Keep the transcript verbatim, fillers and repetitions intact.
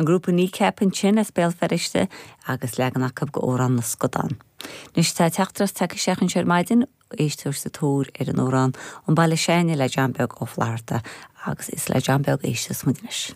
An grúpa Kneecap ansin as Béal Feirste agus leagan acu d'Amhrán na Scadán. Anois tá teachtaireacht tagtha isteach anseo ar maidin éisteoir sa tóir ar an amhrán An Baile S'Againne le John Beag Ó Flatharta agus is le John Beag éisteas muid anois.